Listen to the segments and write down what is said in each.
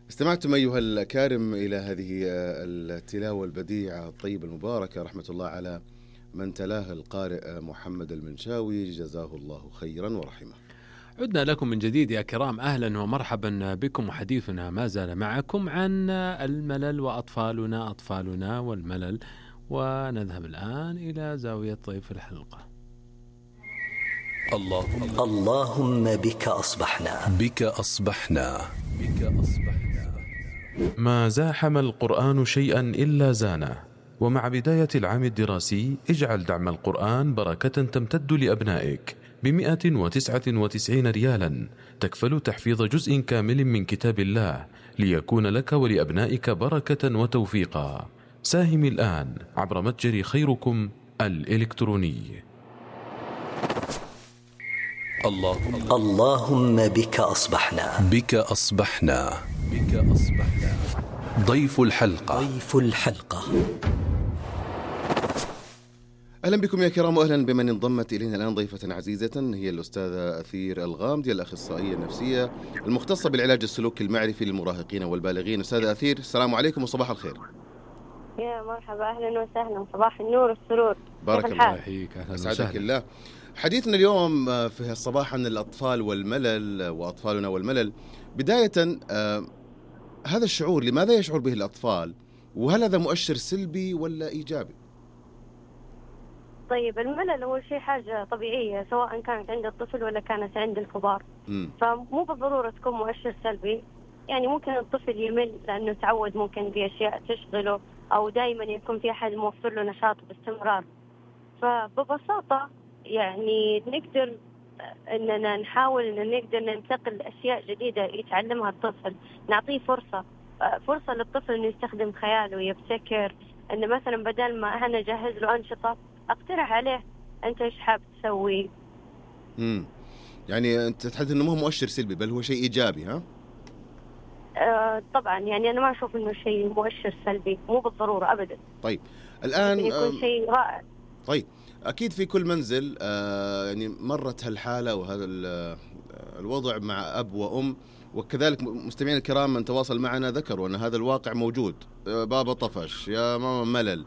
استمعتم أيها الأكارم إلى هذه التلاوة البديعة الطيبة المباركة، رحمة الله على من تلاها القارئ محمد المنشاوي، جزاه الله خيرا ورحمه. عدنا لكم من جديد يا كرام، أهلا ومرحبا بكم، وحديثنا ما زال معكم عن الملل وأطفالنا والملل. ونذهب الآن إلى زاوية ضيف الحلقة. اللهم بك أصبحنا ما زاحم القرآن شيئا إلا زانه. ومع بداية العام الدراسي اجعل دعم القرآن بركة تمتد لأبنائك ب199 ريالا، تكفل تحفيظ جزء كامل من كتاب الله ليكون لك ولأبنائك بركة وتوفيقا. ساهم الآن عبر متجر خيركم الإلكتروني. اللهم بك أصبحنا. ضيف الحلقة. أهلا بكم يا كرام، وأهلا بمن انضمت إلينا الآن ضيفة عزيزة، هي الأستاذة أثير الغامدي، الأخصائية النفسية المختصة بالعلاج السلوكي المعرفي للمراهقين والبالغين. أستاذة أثير، السلام عليكم وصباح الخير. يا مرحبا، أهلا وسهلا، صباح النور والسرور. بارك الله فيك، أسعدك الله. حديثنا اليوم في الصباح عن الأطفال والملل وأطفالنا والملل. بداية هذا الشعور لماذا يشعر به الأطفال؟ وهل هذا مؤشر سلبي ولا إيجابي؟ طيب، الملل هو شيء حاجة طبيعية سواء كانت عند الطفل ولا كانت عند الكبار. فمو بالضرورة تكون مؤشر سلبي. يعني ممكن الطفل يمل لأنه تعود ممكن بأشياء تشغله، أو دائما يكون في أحد موفر له نشاط باستمرار. فببساطة يعني نقدر أننا نحاول أن نقدر ننتقل أشياء جديدة يتعلمها الطفل، نعطيه فرصة للطفل أنه يستخدم خياله ويبتكر. أنه مثلا بدل ما أنا أجهز له أنشطة، أقترح عليه أنت إيش حاب تسوي. يعني أنت تحدث أنه مو مؤشر سلبي بل هو شيء إيجابي، ها؟ طبعا يعني أنا ما أشوف أنه شيء مؤشر سلبي، مو بالضرورة أبدا. طيب الآن يكون شيء رائع. طيب أكيد في كل منزل يعني مرت هالحالة وهذا الوضع مع أب وأم، وكذلك مستمعين الكرام من تواصل معنا ذكروا أن هذا الواقع موجود. بابا طفش، يا ماما ملل،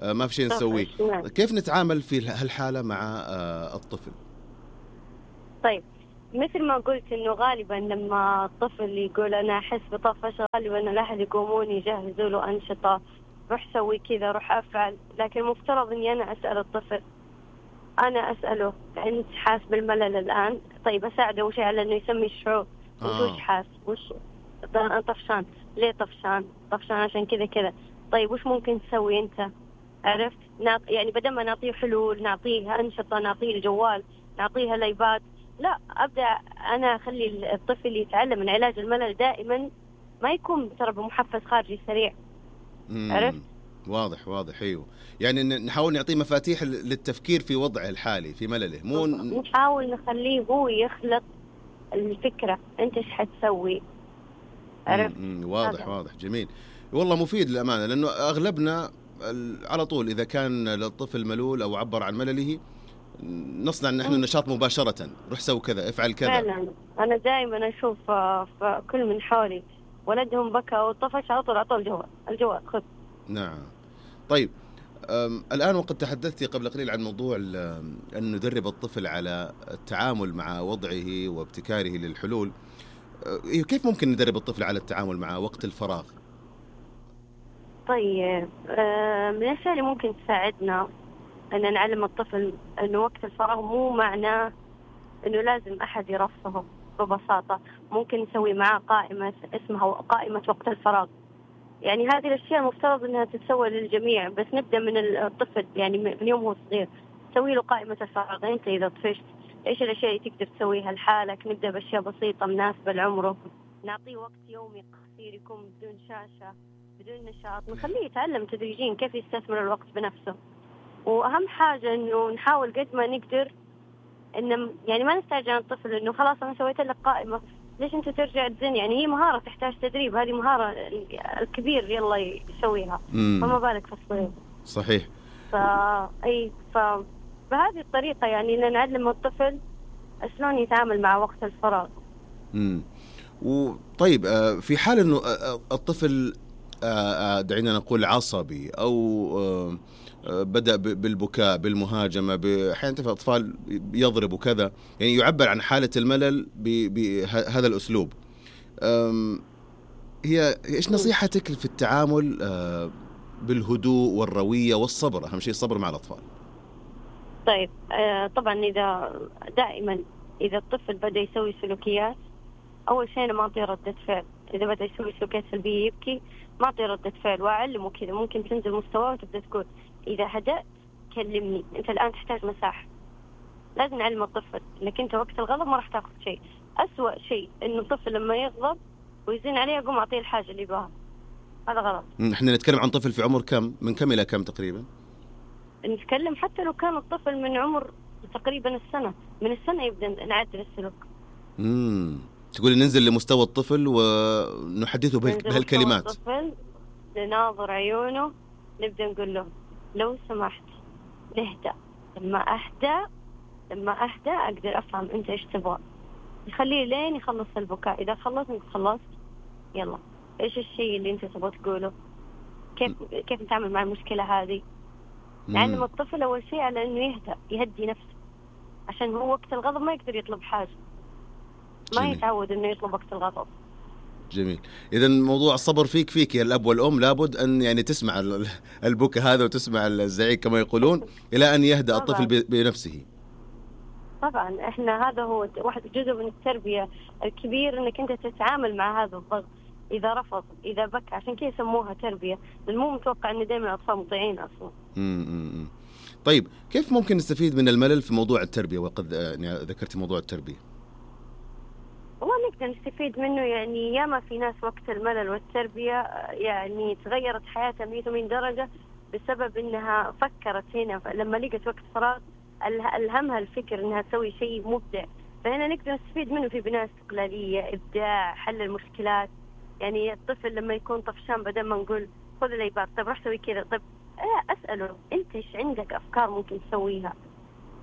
ما في شيء نسويه. كيف نتعامل في هالحالة مع الطفل؟ طيب، مثل ما قلت إنه غالبا لما الطفل يقول أنا أحس بطفش، غالبا الأهل يقومون يجهزوا له أنشطة، روح سوي كذا، روح أفعل. لكن المفترض إني أنا أسأل الطفل، أنا أسأله أنت حاس بالملل الآن؟ طيب أساعده أول شيء على إنه يسمي الشعور. وش حاس؟ وش طفشان؟ ليه طفشان عشان كذا كذا. طيب وش ممكن تسوي أنت؟ عرفت؟ يعني بدل ما نعطيه حلول، نعطيه أنشطة، نعطيه الجوال، نعطيها الأيباد، لا، أبدأ أنا أخلي الطفل يتعلم من علاج الملل دائما ما يكون ترى بمحفز خارجي سريع. عرفت؟ واضح. أيوه، يعني نحاول نعطيه مفاتيح للتفكير في وضعه الحالي في ملله، مو نحاول نخليه هو يخلق الفكرة، أنت إيش حتسوي. عرفت؟ واضح جميل والله، مفيد للأمانة، لأنه أغلبنا على طول إذا كان للطفل ملول أو عبر عن ملله نصنع نحن النشاط مباشرة، روح سوي كذا، افعل كذا. فعلا أنا دائما أشوف في كل من حولي ولدهم بكى وطفش على طول أعطوا الجوال خذ. نعم. طيب الآن وقد تحدثت قبل قليل عن موضوع أن ندرب الطفل على التعامل مع وضعه وابتكاره للحلول. كيف ممكن ندرب الطفل على التعامل مع وقت الفراغ؟ طيب من الأشياء اللي ممكن تساعدنا أن نعلم الطفل أنه وقت الفراغ مو معناه أنه لازم أحد يرفهه. ببساطة ممكن نسوي معاه قائمة اسمها قائمة وقت الفراغ. يعني هذه الأشياء مفترض أنها تتسوى للجميع، بس نبدأ من الطفل، يعني من يوم هو صغير تسوي له قائمة الفراغ. أنت إذا طفشت إيش الأشياء اللي تقدر تسويها لحالك؟ نبدأ بأشياء بسيطة مناسبة لعمره، نعطيه وقت يومي قصير يكون بدون شاشة بدون نشاط، نخليه يتعلم تدريجيا كيف يستثمر الوقت بنفسه. وأهم حاجة إنه نحاول قد ما نقدر إن يعني ما نستعجل عن الطفل إنه خلاص أنا سويت لك قائمة ليش أنت ترجع تزن. يعني هي مهارة تحتاج تدريب، هذه مهارة الكبير يلا يسويها، فما بالك في الصغير. صحيح. فبهذه الطريقة يعني إن نعلم الطفل شلون يتعامل مع وقت الفراغ. وطيب في حال انه الطفل دعينا نقول عصبي او بدأ بالبكاء بالمهاجمة، أحيانا أطفال يضرب وكذا، يعني يعبر عن حالة الملل بهذا الأسلوب. هي إيش نصيحتك في التعامل بالهدوء والروية والصبر؟ أهم شيء الصبر مع الأطفال. طيب طبعا دائما إذا الطفل بدأ يسوي سلوكيات، أول شيء أنا ما أعطيه ردة فعل. إذا بدأ يسوي سلوكيات سلبية يبكي، ما أعطيه ردة فعل وأعلمه كذا. ممكن تنزل مستواه وتبدأ تقول إذا هدأت كلمني، أنت الآن تحتاج مساحة. لازم نعلم الطفل إنك أنت وقت الغضب ما راح تأخذ شيء. أسوأ شيء إنه الطفل لما يغضب ويزين عليه أقوم أعطيه الحاجة اللي يبغاها، هذا غلط. إحنا نتكلم عن طفل في عمر كم؟ من كم إلى كم تقريبا؟ نتكلم حتى لو كان الطفل من عمر تقريبا السنة، من السنة يبدأ نعدل السلوك. تقولي ننزل لمستوى الطفل ونحدثه بهالكلمات. الطفل نناظر عيونه، نبدأ نقول له لو سمحت نهدأ. لما أهدأ أقدر أفهم أنت إيش تبغى. يخليه لين يخلص البكاء. إذا خلصت يلا إيش الشيء اللي أنت تبغى تقوله، كيف نتعامل مع المشكلة هذه. نعلم الطفل أول شيء على إنه يهدي نفسه، عشان هو وقت الغضب ما يقدر يطلب حاجة، ما يتعود إنه يطلب وقت الغضب. جميل. إذا موضوع الصبر فيك يا الأب والأم، لابد أن يعني تسمع البكاء هذا وتسمع الزعيق كما يقولون إلى أن يهدأ الطفل بنفسه. طبعا إحنا هذا هو واحد جزء من التربية الكبير، إنك أنت تتعامل مع هذا الضغط. إذا رفض، إذا بكى، عشان كذا يسموها تربية، لأن مو متوقع إن دائما الأطفال مطيعين أصلا. طيب كيف ممكن نستفيد من الملل في موضوع التربية؟ وقد يعني ذكرت موضوع التربية. والله نقدر نستفيد منه، يعني ياما في ناس وقت الملل والتربية يعني تغيرت حياتها 180 درجة بسبب إنها فكرت هنا لما لقت وقت فراغ ألهمها الفكر إنها تسوي شيء مبدع. فهنا نقدر نستفيد منه في بناء استقلالية، إبداع، حل المشكلات. يعني الطفل لما يكون طفشان بدل ما نقول خذ الأيباد، طيب راح سوي كذا، طيب أسأله أنت إيش عندك أفكار ممكن تسويها،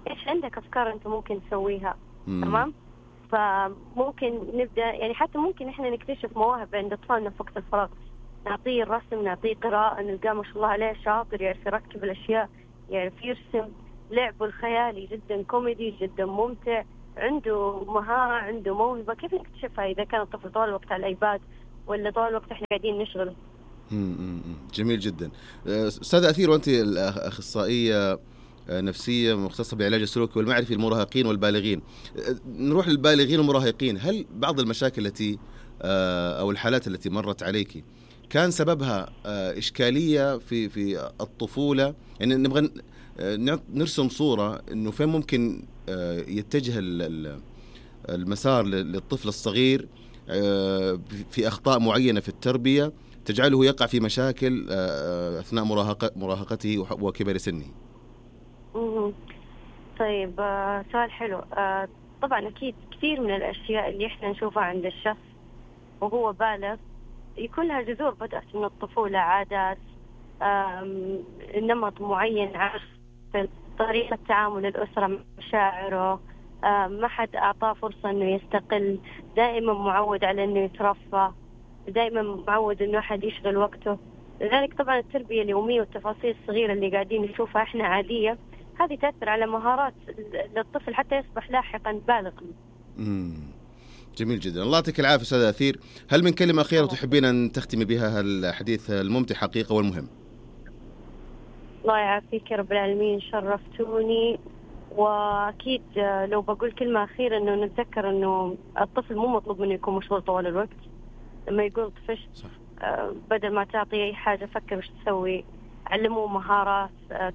إيش عندك أفكار أنت ممكن تسويها. تمام. فممكن نبدأ يعني حتى ممكن إحنا نكتشف مواهب عند أطفالنا في وقت الفراغ. نعطيه الرسم، نعطيه قراءة، نلقاه ما شاء الله عليه شاطر، يعرف يركب الأشياء، يعرف يرسم. لعبه الخيالي جدا كوميدي، جدا ممتع، عنده مهارة، عنده موهبة. كيف نكتشفها إذا كان الطفل طول الوقت على الأيباد ولا طول الوقت إحنا قاعدين نشغله؟ جميل جدا. أستاذة أثير، وأنت الأخصائية نفسية مختصة بعلاج السلوكي والمعرفي للمراهقين والبالغين، نروح للبالغين والمراهقين. هل بعض المشاكل التي أو الحالات التي مرت عليك كان سببها إشكالية في الطفولة؟ يعني نبغى نرسم صورة إنه فين ممكن يتجه المسار للطفل الصغير في أخطاء معينة في التربية تجعله يقع في مشاكل أثناء مراهقته وكبر سنه. طيب سؤال حلو. طبعا أكيد كثير من الأشياء اللي إحنا نشوفها عند الشخص وهو بالغ يكون لها جذور بدأت من الطفولة، عادات، نمط معين، عارف طريقة تعامل الأسرة مع مشاعره، ما حد أعطاه فرصة إنه يستقل، دائما معود على إنه يترفه، دائما معود إنه أحد يشغل وقته. لذلك طبعا التربية اليومية والتفاصيل الصغيرة اللي قاعدين نشوفها إحنا عادية، هذه تأثر على مهارات للطفل حتى يصبح لاحقا بالغا. جميل جدا. الله يعطيك العافية أستاذة أثير. هل من كلمة أخيرة تحبين أن تختمي بها الحديث الممتع حقيقة والمهم؟ الله يعافيك يا رب العالمين، شرفتوني. وأكيد لو بقول كلمة أخيرة إنه نتذكر إنه الطفل مو مطلوب منه يكون مشغول طوال الوقت. لما يقول طفشت بدل ما تعطيه أي حاجة فكر وش تسوي، علموه مهارات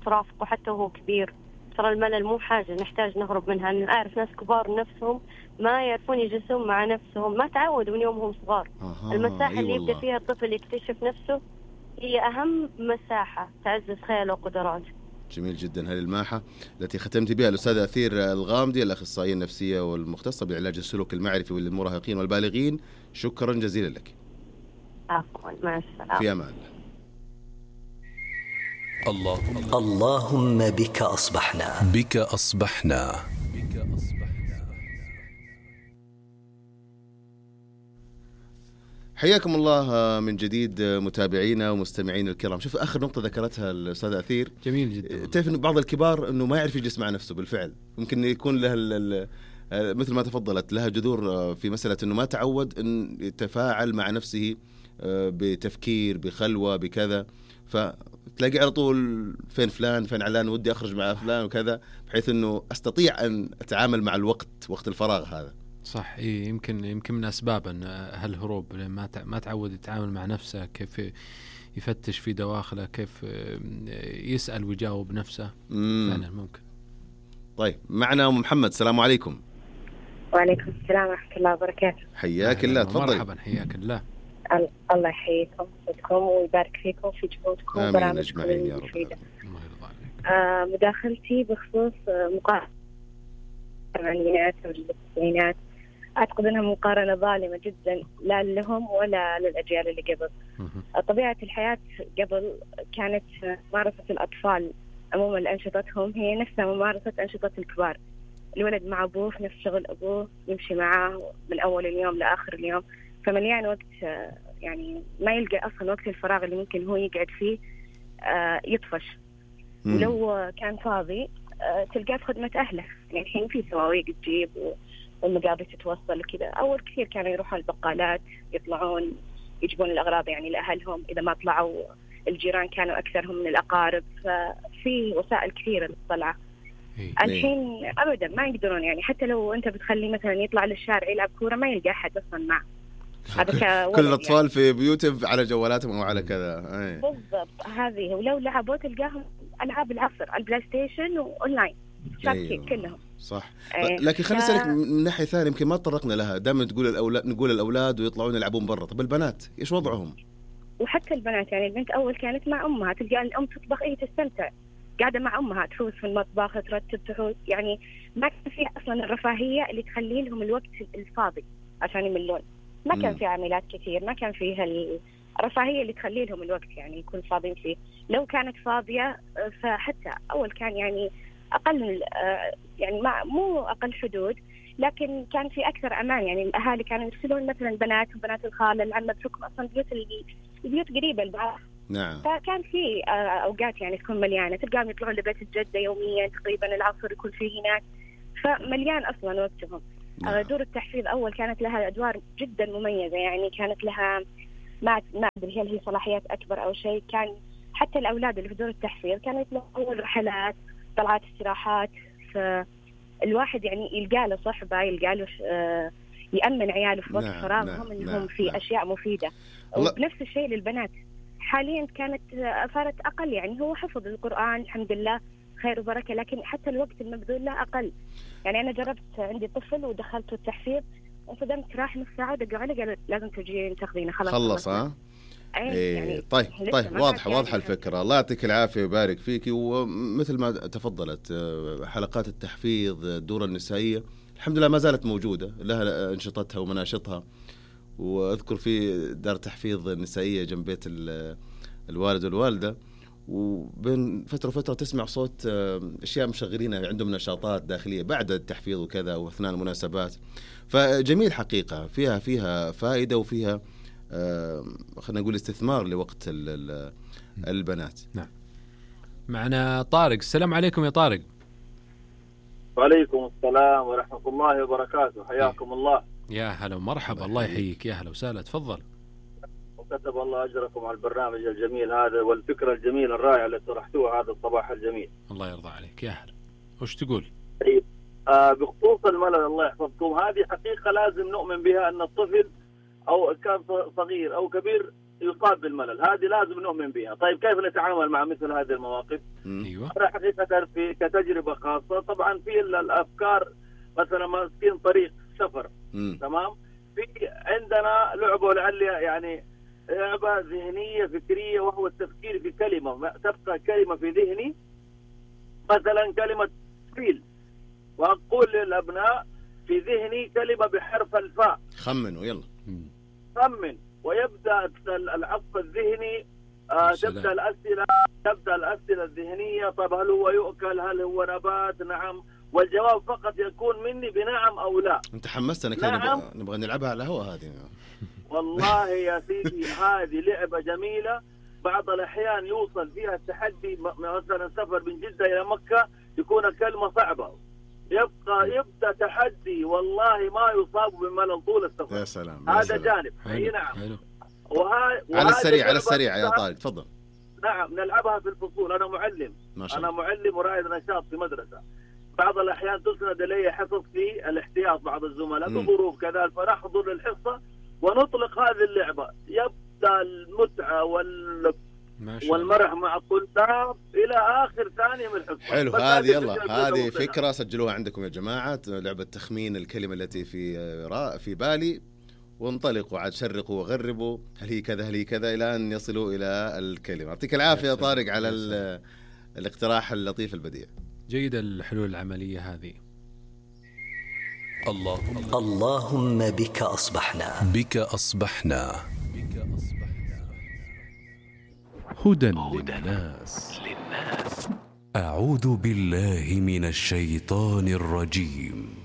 ترافقه حتى وهو كبير. ترى الملل مو حاجة نحتاج نهرب منها. أنا أعرف ناس كبار نفسهم ما يعرفون يجلسون مع نفسهم، ما تعودوا من يومهم صغار. المساحة اللي يبدأ فيها الطفل يكتشف نفسه هي أهم مساحة تعزز خياله وقدراته. جميل جدا. هذه الماحة التي ختمت بها الأستاذة أثير الغامدي، الأخصائية النفسية والمختصة بعلاج السلوك المعرفي للمراهقين والبالغين. شكرا جزيلا لك. عفوا، مع السلامة. في أمان الله. اللهم بك أصبحنا. حياكم الله من جديد متابعينا ومستمعين الكرام. شوف آخر نقطة ذكرتها الأستاذ أثير جميل جدا. تعرف إنه بعض الكبار إنه ما يعرف يجلس مع نفسه بالفعل، ممكن يكون له مثل ما تفضلت لها جذور في مسألة إنه ما تعود إن يتفاعل مع نفسه بتفكير بخلوة بكذا، فتلاقي على طول فين فلان فين علان ودي أخرج مع فلان وكذا، بحيث إنه أستطيع أن أتعامل مع الوقت وقت الفراغ هذا. صح. يمكن من أسباب أن هالهروب ما تعود يتعامل مع نفسه، كيف يفتش في دواخله، كيف يسأل ويجاوب نفسه. فعلا ممكن. طيب معنا أم محمد، السلام عليكم. وعليكم السلام ورحمة الله وبركاته. حياك الله، تفضل. مرحبا، حياك الله. الله يحييكم ويبارك فيكم في جهودكم وبرامجكم المفيدة. مداخلتي بخصوص مقارنة الثمانينات والتسعينات، أعتقد أنها مقارنة ظالمة جدا، لا لهم ولا للأجيال اللي قبل. طبيعة الحياة قبل كانت ممارسة الأطفال عموما أنشطتهم هي نفسها ممارسة أنشطة الكبار. الولد مع أبوه في نفس شغل أبوه، يمشي معاه من أول اليوم لآخر اليوم، فمليان وقت، يعني ما يلقى أصلا وقت الفراغ اللي ممكن هو يقعد فيه يطفش. ولو كان فاضي تلقاه في خدمة أهله. يعني الحين في سواويق تجيب والمقابل تتوصل كذا. أول كثير كانوا يروحون البقالات، يطلعون يجيبون الأغراض يعني لأهلهم، إذا ما طلعوا الجيران كانوا أكثرهم من الأقارب، ففي وسائل كثيرة للطلعة. الحين أبدا ما يقدرون، يعني حتى لو أنت بتخلي مثلا يطلع للشارع يلعب كورة ما يلقى أحد أصلا معه. كل الأطفال يعني في بيوتهم على جوالاتهم أو على كذا. بالضبط، هذه. ولو لعبوا تلقاهم ألعاب العصر، البلاي ستيشن وأونلاين شابكين كلهم. صح. لكن خليني أسألك من ناحية ثانية، يمكن ما تطرقنا لها. دائما نقول الأولاد ويطلعون يلعبون برا، طب البنات إيش وضعهم؟ وحتى البنات، يعني البنت أول كانت مع أمها، تلقى الأم تطبخ تستمتع، قاعدة مع أمها تفوز في المطبخ ترتب تحوز، يعني ما كان في أصلا الرفاهية اللي تخلي لهم الوقت الفاضي عشان يملون. ما كان في عمليات كثير، ما كان فيها الرفاهية اللي تخلي لهم الوقت يعني يكون فاضيين فيه. لو كانت فاضية فحتى أول كان يعني أقل، يعني مو أقل حدود، لكن كان في أكثر أمان. يعني الأهالي كانوا يرسلون مثلا البنات وبنات الخالة العمة، بحكم أصلا البيوت قريبة لبعض. نعم. فكان في أوقات يعني تكون مليانة، تلقاهم يطلعون لبيت الجدة يوميا تقريبا، العصر يكون فيه هناك، فمليان أصلا وقتهم. دور التحفيظ أول كانت لها أدوار جدا مميزة، يعني كانت لها ما أدري هل هي صلاحيات أكبر أو شيء. كان حتى الأولاد اللي في دور التحفيظ كانوا يطلعون رحلات، طلعات، استراحات، فالواحد يعني يلقى له صحبة، يلقى له يأمن عياله في وقت فراغهم إنهم في أشياء مفيدة. ونفس الشيء للبنات. حاليا كانت صارت أقل، يعني هو حفظ القرآن الحمد لله خير وبركة، لكن حتى الوقت المبذول له أقل. يعني أنا جربت، عندي طفل ودخلته التحفيظ، انصدمت، راح نص ساعة دقوا علي قالوا لازم تجين تاخذينه خلص. يعني طيب واضحة الفكرة. الله يعطيك العافية ويبارك فيك. ومثل ما تفضلت، حلقات التحفيظ، الدورة النسائية الحمد لله ما زالت موجودة، لها أنشطتها ومناشطها. وأذكر في دار تحفيظ نسائية جنب بيت الوالد والوالدة، وبين فترة وفترة تسمع صوت أشياء مشغلينها، عندهم نشاطات داخلية بعد التحفيظ وكذا وأثناء المناسبات. فجميل حقيقة، فيها فائدة وفيها خلينا نقول استثمار لوقت البنات. نعم. معنا طارق، السلام عليكم يا طارق. وعليكم السلام ورحمة الله وبركاته، حياكم الله. يا هلا ومرحبا، الله يحييك، يا هلا وسهلا، تفضل. وكتب الله أجركم على البرنامج الجميل هذا والفكرة الجميلة الرائعة اللي طرحتوها هذا الصباح الجميل. الله يرضى عليك، يا هلا. وش تقول؟ طيب، بخصوص الملل الله يحفظكم، هذه حقيقة لازم نؤمن بها، أن الطفل أو كان صغير أو كبير يصاب بالملل، هذه لازم نؤمن بها. طيب كيف نتعامل مع مثل هذه المواقف؟ أيوة. أنا حقيقة كتجربة خاصة، طبعا في الأفكار مثلا ماسكين طريق سفر، تمام، في عندنا لعبة لعل يعني لعبة ذهنية فكرية، وهو التفكير في كلمة، تبقى كلمة في ذهني، مثلا كلمة فيل، وأقول للأبناء في ذهني كلمة بحرف الفاء، خمنوا يلا، خمن، ويبدأ العصف الذهني، تبدأ الأسئلة الذهنية. طب هل هو يؤكل؟ هل هو نبات؟ نعم، والجواب فقط يكون مني بنعم أو لا. أنت حمستنا كذا، نعم. نبغى نلعبها على الهواء هذه. والله يا سيدي هذه لعبة جميلة. بعض الأحيان يوصل فيها التحدي، مثلا سفر من جدة إلى مكة يكون كلمة صعبة، يبدأ تحدي والله ما يصاب بملل طول السفر. يا سلام. هذا جانب. اي نعم. على السريع يا طارق تفضل. نعم نلعبها في الفصول. أنا معلم، أنا معلم ورائد نشاط في مدرسة. بعض الأحيان تسند إلي حصص في الاحتياط بعض الزملاء بظروف كذا، فنحضر الحصة ونطلق هذه اللعبة. يبدأ المتعة والمرح مع الطلاب إلى آخر ثانية من الحصة. حلو. هذه يلا هذه فكرة سجلوها عندكم يا جماعة، لعبة تخمين الكلمة التي في بالي، وانطلقوا عاد شرقوا وغربوا هل هي كذا هل هي كذا إلى أن يصلوا إلى الكلمة. يعطيك العافية يا طارق على الاقتراح اللطيف البديع. جيدة الحلول العملية هذه. اللهم بك أصبحنا هدى للناس. أعوذ بالله من الشيطان الرجيم.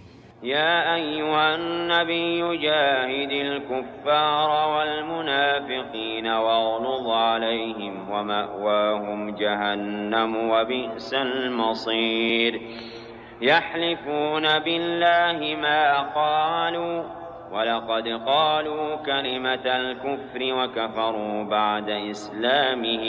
يا أيها النبي جاهد الكفار والمنافقين واغلظ عليهم ومأواهم جهنم وبئس المصير. يحلفون بالله ما قالوا ولقد قالوا كلمة الكفر وكفروا بعد إسلامهم